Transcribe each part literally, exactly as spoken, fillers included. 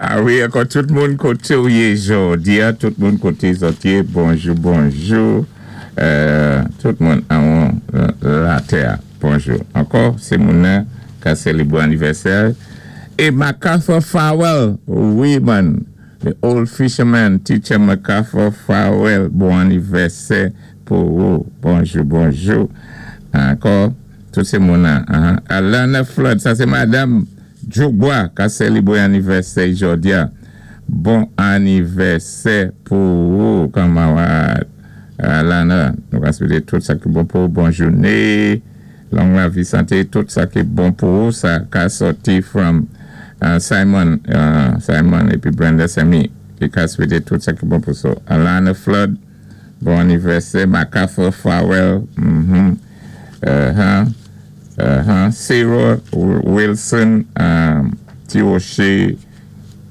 A wi, ankò tout moun koté ou yé jòdi a, tout moun koté zòt yé, bonjou, bonjou, euh, tout moun anwo latè, bonjou. Ankò, sé moun ka sélébwé anivèsè. É MacArthur Farwell, wi man, the old fisherman, teacher MacArthur Farwell, bon anivèsè pou ou. Bonjou, bonjou. Ankò, tout sé moun uh, Alana Flood, sa sé Madam Djougbois, ka sélébwé anivèsè jòdi a. Bon anivèsè pou ou, kanmarad Alana. Nou ka swété tout sa ki bon pou ou. Bon jouné, long lavi, santé, tout sa ki bon pou ou, sa ka sòti from uh, Simon, uh, Simon épi Brenda Semi, ki ka swété tout sa ki bon pou ou. Alana Flood, bon anivèsè. MacArthur Farwell, mm-hmm. uh-huh. Uh-huh. Sarah Wilson, um, Tiroche,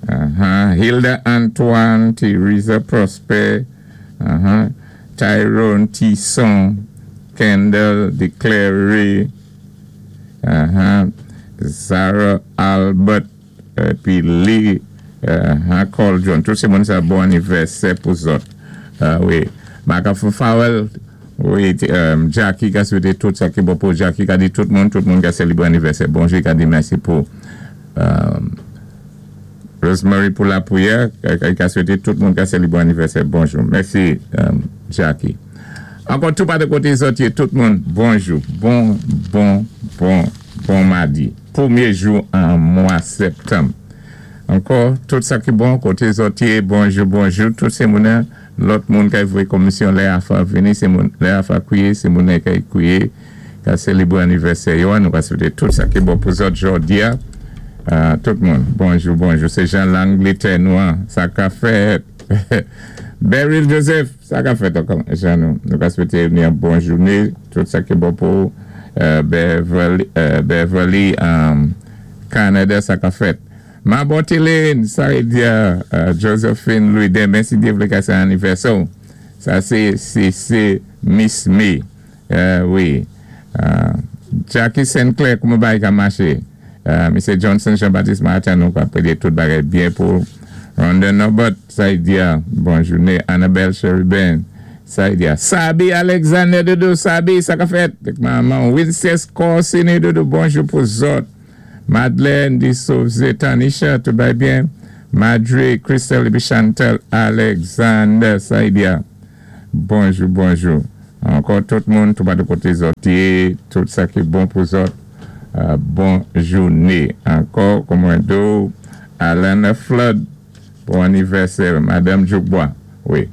uh-huh. Hilda Antoine, Teresa Prosper, uh-huh. Tyrone Tisson, Kendall Declare, uh-huh. Zara Albert, épi Lee uh-huh. Cole John. Tout sé moun sa bon anivèsè pou zòt. Uh, wi. MacArthur Farwell, wi, um, Jackie ka swété tout sa ki bon pou Jackie, ka di tout moun, tout moun ka sélébwé anivèsè. Bonjou, ka di mèsi pou um, Rosemary pou lapriyè, ka swété tout moun ka sélébwé anivèsè. Bonjou. Mèsi, um, Jackie. Ankò tout pa de koté zòt yé, tout moun, bonjou. Bon, bon, bon, bon madi. Pwémyé jou an mwa septanm. Ankò, tout sa ki bon, koté zòt yé, bonjou, bonjou, tout sé moun lòt moun ka voyé komisyon lè afa vini, sé moun lè afa kwiyé, sé moun ka kwiyé, ka sélébwé anivèsè yo, nou ka swété tout sa ki bon pou zòt jòdi a. Uh, tout moun, bonjou, bonjou. Sé jan Langlétè nou an, sa ka fèt. Beryl Joseph, sa ka fèt ankò, jan nou. Nou ka swété ni yon bon jouné, tout sa ki bon pou uh, Beverly, uh, Beverly um, Canada, sa ka fèt. Ma Botiline, sa vlé di uh, Josephine Louis, denmen si Dye vlé ka sé anivèsè. Sa sé, sé, sé Miss May. Uh, wi. Uh, Jackie Sinclair, kouman bagay ka maché? Uh, Misye Johnson Jean-Baptiste Martin, nou ka pédé tout bagay byen pou Rhonda Norbert, sa vlé di, bon jouné. Annabelle Sheridan, sa vlé di. Sabi Alexander Dodo, Sabi, sa ka fèt. Manman Wincest Corsini Dodo, bonjou pou zòt. Madeleine Di Souze, Tanisha, tout bagay byen. Madre, Christelle épi Chantal Alexander, sa vlé di. Bonjou, bonjou. Ankò tout moun, tout pa de koté zòt yé, tout sa ki bon pou zòt. Uh, bon jouné. Ankò, kòman do, Alana Flood, bon anivèsè, Madame Djoukbois. Wi.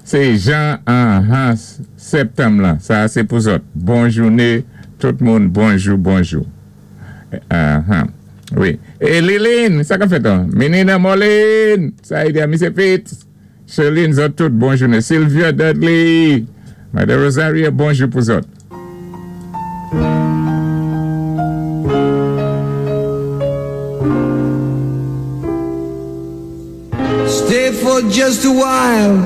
Sé jan an an septanm la, sa sé pou zòt. Bon jouné, tout moun, bonjou, bonjou. Uh-huh. Wi. É Liline, sa ka fèt an? Menina Moline, sa vlé di, Misye Fitz. Cheline, zòt tout, bon jouné. Sylvia Dudley, Madame Rosaria, bonjou pou zòt. Stay for just a while.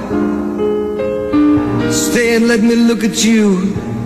Stay and let me look at you.